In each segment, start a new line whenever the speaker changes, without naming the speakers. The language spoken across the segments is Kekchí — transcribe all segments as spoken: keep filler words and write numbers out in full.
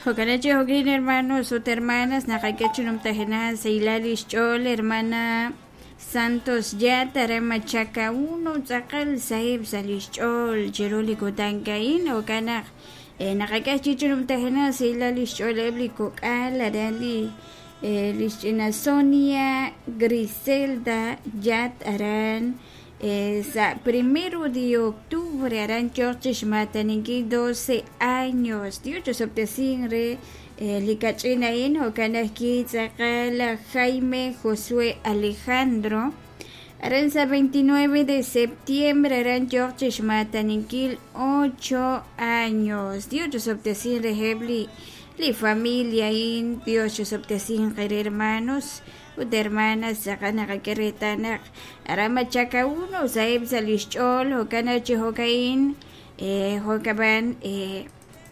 Jo'kan chi jo'kin hermanos ut hermanas naqak'e chi numtajenaq sahilal lix ch'ool hermana Santos Yat aran Machaca uno tz'aqal saheb' sa' lix ch'ool chiru li kutan a'in jo'kan naq naqak'e chi numtajenaq sahilal lix ch'ooleb' li kok'al aran li lix ch'ina Sonia Griselda Yat aran sa' primero de octubre aran yooq chixmataninkil doce años Dios chosob'tesin re li kach'in a'in jo'kan ajwi' tz'aqal Jaime Josué Alejandro aran sa' veintinueve de septiembre aran yooq chixmataninkil ocho años Dios chosob'tesin reheb' li li familia a'in Dios chosob'tesin qere hermanos ut hermanas tz'aqal naqak'e reetal naq aran Machaca uno saheb' sa' lix ch'ool jo'kan chi jo'ka'in jo'kab'an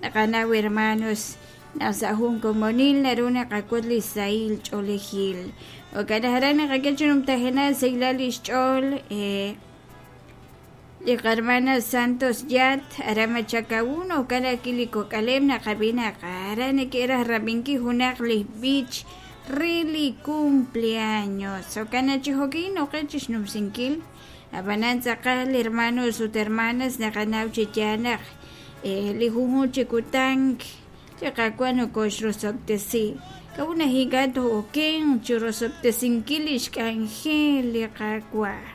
naqanaw hermanos naq sa' jun komonil naru naqak'ut li sahil ch'oolejil jo'kan aran naqak'e chi numtajenaq sahilal lix ch'ool li qarmana Santos Yat aran Machaca uno jo'kan ajwi' li kok'aleb' naqab'i naq aran neke'raj rab'inkil junaq li b'ich re li cumpleaños jo'kan chi jo'kin noqe chixnumsinkil ab'anan tz'aqal hermanos ut hermanas naqanaw chi yaal naq li junjun chi kutan li Qaawa' nokoxrosob'tesi k'a'ut naq ink'a' to'oken chirosob'tesinkil lix k'anjel li Qaawa'.